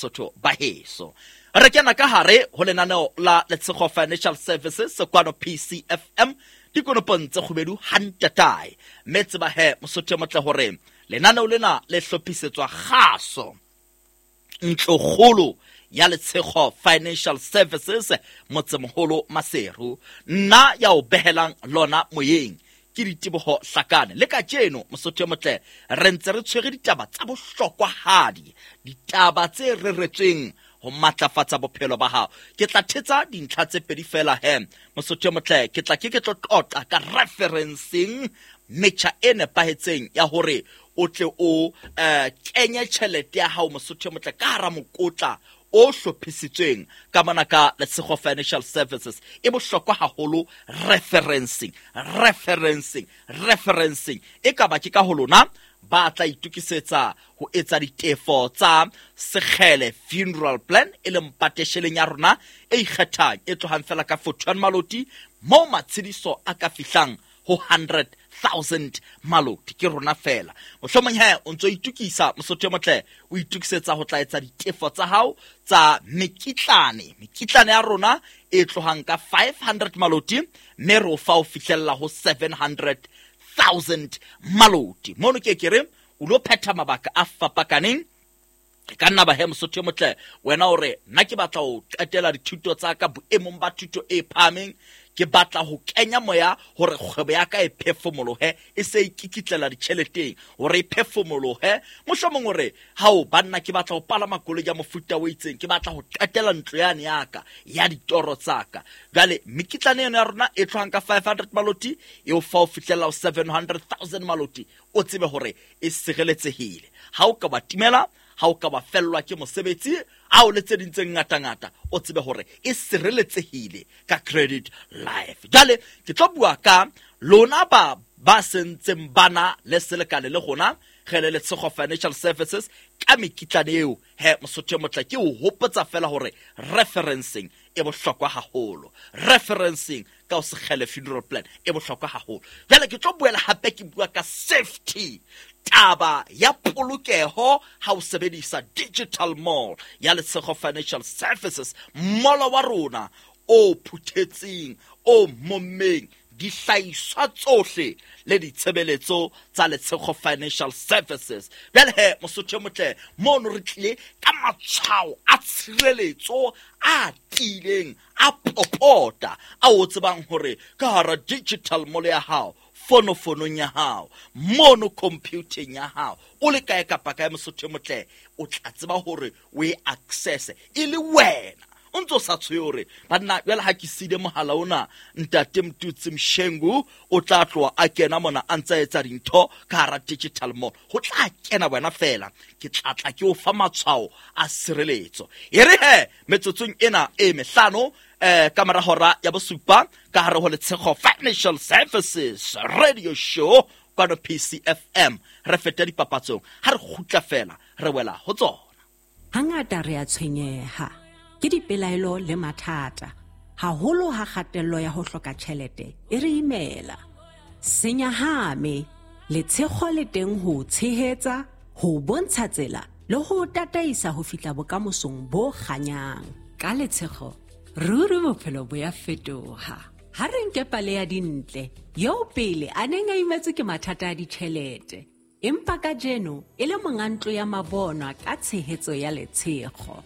Basotho ba heso. Re kena ka hare ho lenaneo la Letshego Financial Services kwano PCFM dikonopong tse kgubedu hantatae. Mme tseba he Mosotho e motle hore lenaneo lena le hlophisetswa kgaso ntlokgolo ya Letshego Financial Services motsemoholo Maseru. Nna ya o behelang lona moyeng ke Diteboho Hlakane. Le kajeno Mosotho e motle re ntse re tshwere ditaba tsa bohlokwahadi, ditaba tse reretsweng ho matlafatsa bophelo ba hao. Ke tla thetsa dintlha tse pedi fela he Mosotho e motle, ke tla ke ke tlo qoqa ka referencing, metjha e nepahetseng ya hore o tle o kenye tjhelete ya hao Mosotho e motle ka hara mokotla o hlophisitsweng ka mona ka Letshego Financial Services. E bohlokwa haholo referencing, referencing, referencing. E ka ba ke ka ho lona ba tla itokisetsa ho etsa ditefo tsa Sekgele Funeral Plan, e leng patesheleng ya rona e ikgethang e tlohang fela ka 41 maloti moo matshediso a ka fihlang ho 100,000 maloti. Ke rona fela. Mohlomong he o ntso itukisa Mosotho e motle, o itukisetsa ho tla etsa ditefo tsa hao tsa mekitlane. Mekitlane ya rona e tlohang ka 500 maloti mme re o fa ho fihlella ho 700,000 maloti. Mono ke ke re o lo phetha mabaka a fapakaneng. E ka nna ba he Mosotho e motle wena o re nna ke batla ho qetela dithuto tsa ka boemong ba thuto e phahameng, ke batla ho kenya moya hore kgwebo ya ka e phefumolohe, e se e kikitlela ditjheleteng hore e phefumolohe. Mohlomong o re hao banna ke batla ho palama koloi ya mofuta o itseng, ke batla ho qetela ntlo yane ya ka ya ditoro tsa ka. Jwale mekitlane eno ya rona e tlohang ka 500 maloti e o fa ho fihlella ho 700,000 maloti, o tsebe hore e sireletsehile. Ha o ka ba timela, ha o ka ba fellwa ke mosebetsi, a o le tse ding tse ngatangata, o tsebe hore e sireletsehile ka Credit Life. Jwale ke tlo bua ka lona ba sentseng bana le selekane le rona re le Letshego Financial Services ka mekitlane eo. He Mosotho e motle, ke o hopotsa fela hore referencing e bohlokwa haholo, referencing ka ho Sekgele Funeral Plan e bohlokwa haholo. Jwale ke tlo boela hape ke bua ka safety, taba ya polokeho ha o sebedisa digital mall ya Letshego Financial Services, mall wa rona o phuthetseng, o mommeng dihlahiswa tsohle le ditshebeletso tsa Letshego Financial Services. Jwale he Mosotho e motle, mono re tlile ka matshwao a tshireletso a tiileng, a popota, a o tsebang hore ka hara digital mall ya hao, fonofonong ya hao, mono computing ya hao, o le kae kapa kae Mosotho e motle, o tla tseba hore o e access e le wena. O ntso sa tshohe hore banna jwale ha ke sile mohala ona, ntate Mtutsi Mshengu o tla tloha a kena mona a ntsa etsa dintho ka hara digital mall. Ho tla kena wena fela, ke tla tla ke o fa matshwao a sireletso. E re he metsotsong ena e mehlano, ka mora hora ya bosupa ka hare ho Letshego Financial Services Radio Show kwano PCFM, re fete dipapatsong. Ha re kgutla fela re wela ho tsona. Hangata re a tshwenyeha ke dipelaelo le mathata, haholo ha kgatello ya ho hloka tjhelete e re imela. Senyahame, Letshego le teng ho tshehetsa, ho bontsha tsela le ho tataisa ho fihla bokamosong bo kganyang. Ka Letshego, ruri bophelo bo ya fetoha. Ha re nke pale ya Dintle, eo pele a neng a imetswe ke mathata a ditjhelete, empa kajeno e le monga ntlo ya mabonwa ka tshehetso ya Letshego.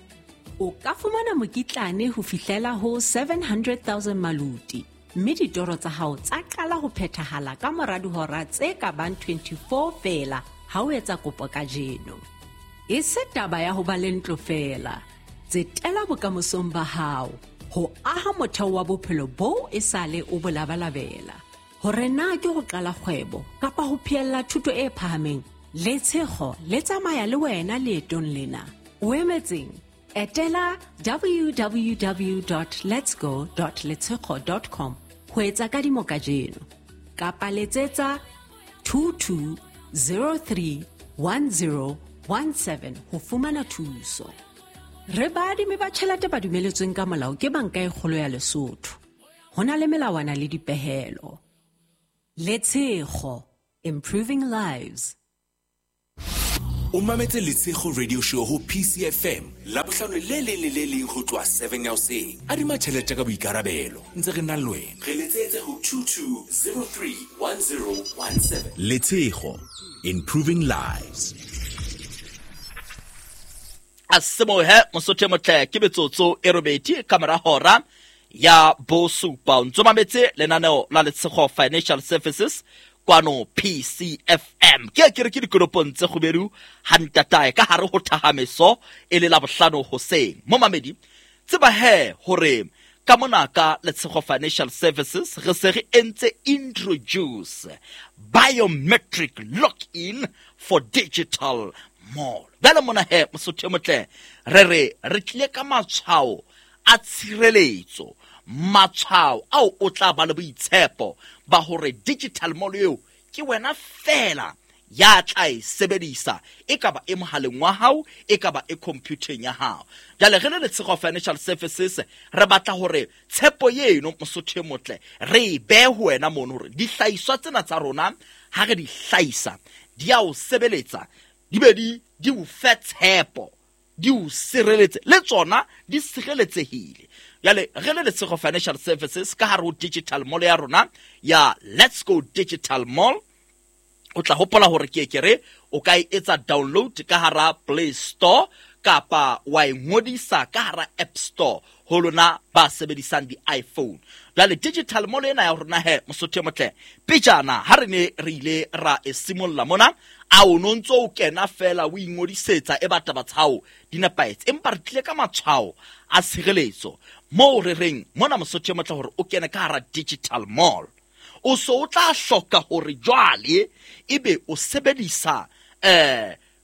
O ka fumana mokitlane ho fihlela ho 700,000 maluti, mme ditoro tsa hao tsa qala ho phethahala ka mora dihora tse ka bang 24 feela ha o etsa kopo kajeno. E se taba ya ho ba le ntlo feela, tsetela bokamosong ba hao, ho aha motheo wa bophelo boo e sale o bo labalabela. Hore na ke ho qala kgwebo kapa ho phehella thuto e phahameng, Letshego le tsamaya le wena leetong lena. O emetseng? Etela www.letsgo.letshego.com ho etsa kadimo kajeno, kapa letsetsa 22031017 ho fumana thuso. Re baadimi ba tjhelete ba dumeletsweng ka molao ke Banka e Kgolo ya Lesotho. Ho na le melawana le dipehelo. Letshego, improving lives. O mametse Letshego Radio Show ho PCFM Labohlano le leng le le leng ho tloha 7 ya hoseng. Adima tjhelete ka boikarabelo. Ntse re na le wena. Re letsetse ho 22031017. Letshego, improving lives. A semohe mosotho e motle ke metsotso e robedi ka mora hora ya bosupa. O ntso mametse lenaneo la Letshego Financial Services kwano PCFM. Ke ke re ke dikonopong tse kgubedu hantatae ka hare ho thahameso e le Labohlano hoseng. Momamedi, tseba he hore ka mona ka Letshego Financial Services re se re entse introduce biometric login for digital mall. Bjale mona he mosotho e motle re re re tlile ka matshwao a tshireletso, matshwao ao o tla ba le boitshepo ba hore digital mall eo ke wena fela ya tla e sebedisa, e ka ba e mohaleng wa hao, e ka ba e computeng ya hao. Jwale re le Letshego Financial Services re batla hore tshepo eno mosotho e motle re e behe ho wena mono, hore dihlahiswa tsena tsa rona ha re di hlahisa di a o sebeletsa, di be di o fe tshepo, di o sireletse, le tsona di sireletsehile. Jwale re le Letshego Financial Services ka hare ho digital mall ya rona ya Let's Go Digital Mall, o tla hopola hore ke ke re o ka e etsa download ka hara Play Store kapa wa e ngodisa ka hara App Store ho lona ba sebedisang di-iPhone. Jwale digital mall ena ya rona he mosotho e motle, pejana ha re ne re ile ra e simolla mona, a o no ntso o kena fela o ingodisetsa e ba taba tsa hao di nepahetse, empa re tlile ka matshwao a tshireletso moo re reng mona mosotho e motle hore o kene ka hara digital mall, o so o tla hloka hore jwale ebe o sebedisa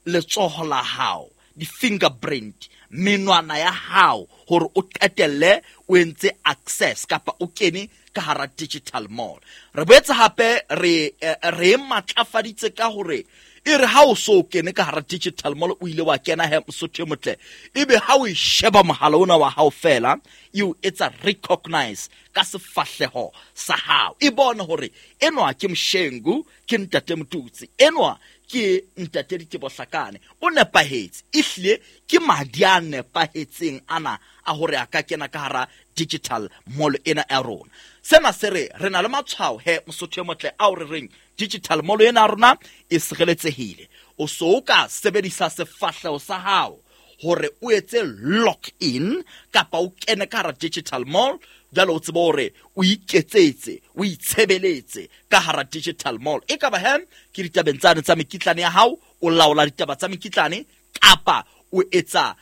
letsoho la hao, di-fingerprint, menwana ya hao hore o qetelle o entse access kapa o kene ka hara digital mall. Re boetse hape re re matlafaditse ka hore e re ha o so kene ka hara digital mall o ile wa kena he mosotho e motle, ebe ha o e sheba mohala ona wa hao fela e o etsa recognize ka sefahleho sa hao, e bone hore enwa ke Mshengu, ke ntate Motutsi, enwa ke ntate Ditebohlakane, o nepahetse, ehlile ke madi a nepahetseng ana a hore a ka kena ka hara digital mall ena ya rona. Sena se re re na le matshwao he mosotho e motle ao re reng digital mall ena ya rona e sireletsehile. O so o ka sebedisa sefahleho sa hao hore o etse log in kapa o kene ka hara digital mall, jwale o tsebe hore o iketsetse, o itshebeletse ka hara digital mall. E ka ba he ke ditabeng tsane tsa mekitlane ya hao, o laola ditaba tsa mekitlane kapa o etsa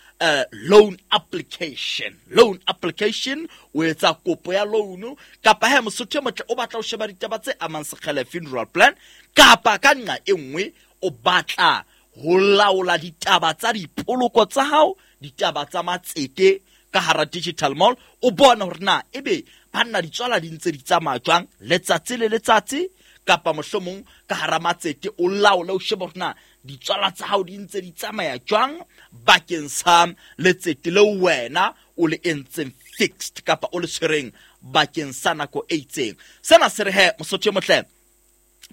loan application. Loan application, o etsa kopo ya loan, kapa he mosotho e motle o batla ho sheba ditaba tse amang Sekgele funeral plan, kapa ka nqa e nngwe o batla ho laola ditaba tsa dipoloko tsa hao, ditaba tsa matsete ka hara digital mall, o bone hore na ebe banna ditswala di ntse di tsamaya jwang letsatsi le letsatsi, kapa mohlomong ka hara matsete o laole o shebe hore na ditswala tsa hao di ntse di tsamaya jwang bakeng sa letsete leo wena o le entseng fixed kapa o le tshwereng bakeng sa nako e itseng. Sena se re he mosotho e motle,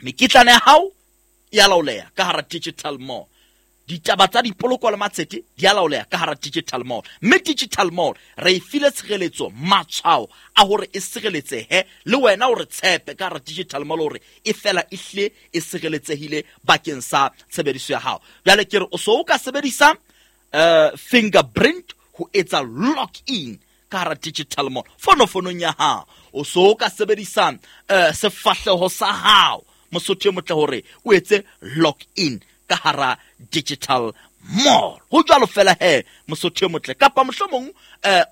mekitlane ya hao e a laoleha ka hara digital mall, ditaba tsa dipoloko le matsete di a laoleha ka hara digital mall, mme digital mall re e file tshireletso, matshwao a hore e sireletsehe, le wena o re tshepe ka hara digital mall hore e fela e hlile e sireletsehile bakeng sa tshebediso ya hao. Jwale ke re o so o ka sebedisa fingerprint ho etsa log in ka hara digital mall fonofonong ya hao, o so o ka sebedisa sefahleho sa hao mosotho e motle hore o etse log in ka hara digital mall. Ho jwalo fela he mosotho e motle, kapa mohlomong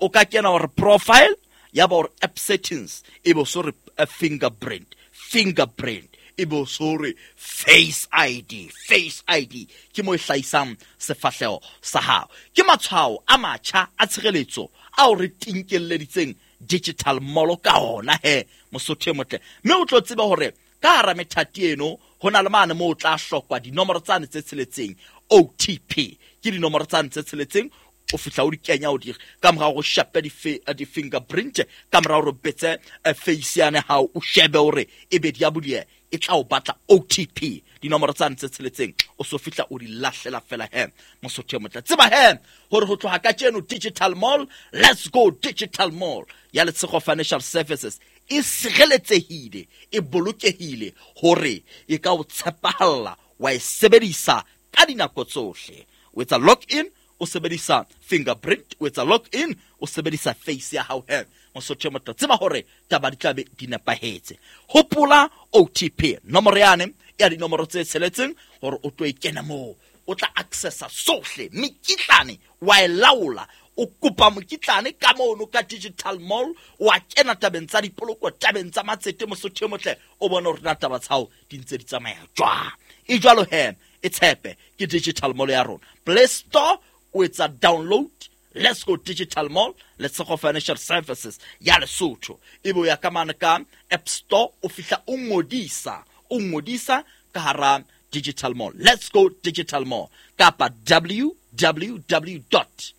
o ka kena hore profile ya ba hore app settings e be so re fingerprint, fingerprint e be so re face ID, face ID ke mo e hlahisang sefahleho sa hao. Ke matshwao a matjha a tshireletso ao re tinkelleditseng digital mall ka ona he mosotho e motle, mme o tlo tseba hore ka hara methati eno ho na le mane moo o tla hlokwa dinomoro tsane tse tsheletseng, OTP ke dinomoro tsane tse tsheletseng, o fihla o di kenya o di ka mora hore o shape di-fingerprint, ka mora hore o betse face yane hao, o shebe hore ebe di a buleha, E tla o batla OTP, dinomoro tsane tse tsheletseng, o so fihla o di lahlela fela he, Mosotho e motle. Tseba he hore ho tloha kajeno Digital Mall, Let's Go Digital Mall ya Letshego Financial Services e sireletsehile, e bolokehile hore e ka o tshepahalla wa e sebedisa ka dinako tsohle. O etsa log in o sebedisa fingerprint, o etsa log in o sebedisa face ya hao he, Mosotho e motle. Tseba hore taba di tlabe di nepahetse. Hopola OTP, nomoro yane ya dinomoro tse tsheletseng, hore o tlo e kena moo, o tla accessa sohle. Mekitlane wa e laola, o kopa mokitlane ka mono ka Digital Mall, wa kena tabeng tsa dipoloko, tabeng tsa matsete, Mosotho e motle, o bone hore na taba tsa hao di ntse di tsamaya jwang. E jwalo he, e tshepe, ke Digital Mall ya rona. Play Store o etsa download Let's Go Digital Mall, Letshego Financial Services ya Lesotho. Ebe o ya ka mane ka App Store, o fihla o ngodisa, o ngodisa ka hara Digital Mall, Let's Go Digital Mall, kapa www dot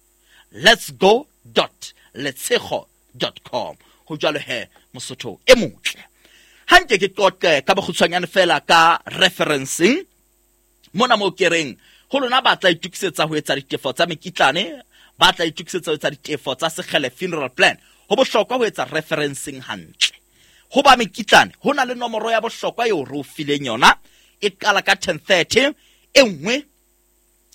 lets go dot letshego dot com. Ho jwalo he, Mosotho e motle. Ha nke ke qoqe ka bokgutshwanyane fela ka referencing mona moo ke reng ho lona ba tla itokisetsa ho etsa ditefo tsa mekitlane, ba tla itokisetsa ho etsa ditefo tsa Sekgele funeral plan. Ho bohlokwa ho etsa referencing hantle. Ho ba mekitlane ho na le nomoro ya bohlokwa eo re o fileng yona, e qala ka 1030, e nngwe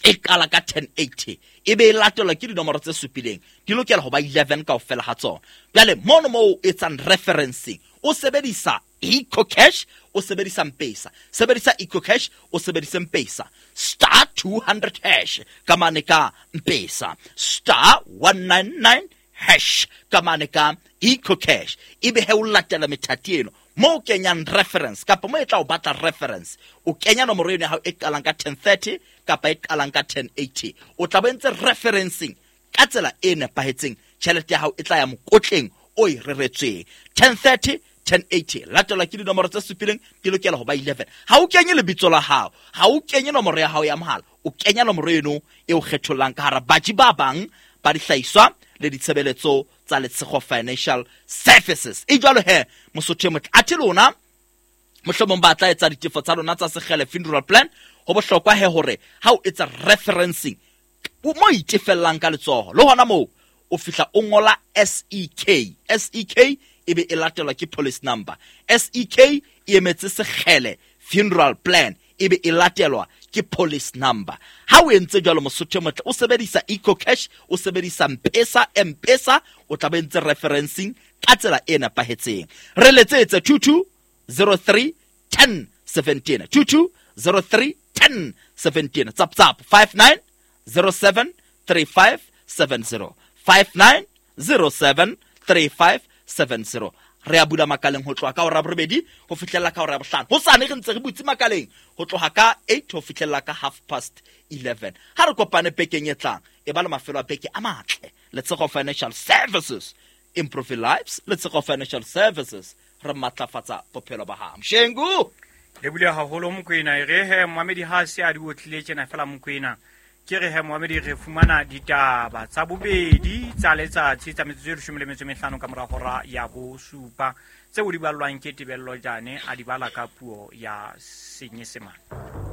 e qala ka 1080, e be e latelwa ke dinomoro tse supileng, di lokela ho ba 11 kaofela ha tsona. Jwale mono moo o etsang referencing o sebedisa EcoCash, o sebedisa Mpesa, sebedisa EcoCash, o sebedise Mpesa, star 200 hash ka mane ka Mpesa, star 199 hash ka mane ka EcoCash. Ebe he o latela methati eno mo o kenyang reference, kapa mo e tla o batla reference, o kenya nomoro eno ya hao e qalang ka 1030 kapa e qalang ka 1080, o tla bo entse referencing ka tsela e nepahetseng. Tjhelete ya hao e tla ya mokotleng o e reretsweng. 1030, 1080 latelwa ke dinomoro tse supileng, di lokela ho ba 11. Ha o kenye lebitso la hao, ha o kenye nomoro ya hao ya mohala, o kenya nomoro eno e o kgethollang ka hara baji ba bang ba dihlahiswa le ditshebeletso tsa Letshego Financial Services. E jwalo he, Mosotho e motle, athe lona mohlomong ba tla etsa ditefo tsa lona tsa Sekgele funeral plan, ho bohlokwa he hore ha o etsa referencing mo itefellang ka letsoho, le hona moo o fihla o ngola SEK. SEK e be e latelwa ke police number. SEK e emetse Sekgele funeral plan, e be e latelwa ke police number. Ha o entse jwalo, Mosotho e motle, o sebedisa EcoCash, o sebedisa Mpesa, Mpesa, o tla be entse referencing ka tsela e nepahetseng. Re letsetse 22 03 10 17, 22 03 10 17, tsap tsap 59 07 35 70, 59 07 35 70. Re a bula makaleng ho tloha ka hora ya borobedi ho fihlella ka hora ya bohlano. Hosane re ntse re butse makaleng ho tloha ka 8 ho fihlella ka half past 11. Ha re kopane bekeng e tlang, e ba le mafelo a beke a matle. Letshego Financial Services, improve lives. Letshego Financial Services, re matlafatsa bophelo ba hao. Mshengu le bule haholo Mokwena. E re he moamedi ha se a di otlile tjena fela Mokwena, ke re he moamedi re fumana ditaba tsa bobedi tsa letsatsi tsa metsotso e 15 ka mora hora ya bosupa, tseo di ballwang ke Tebello Jane, a di bala ka puo ya Senyesemane.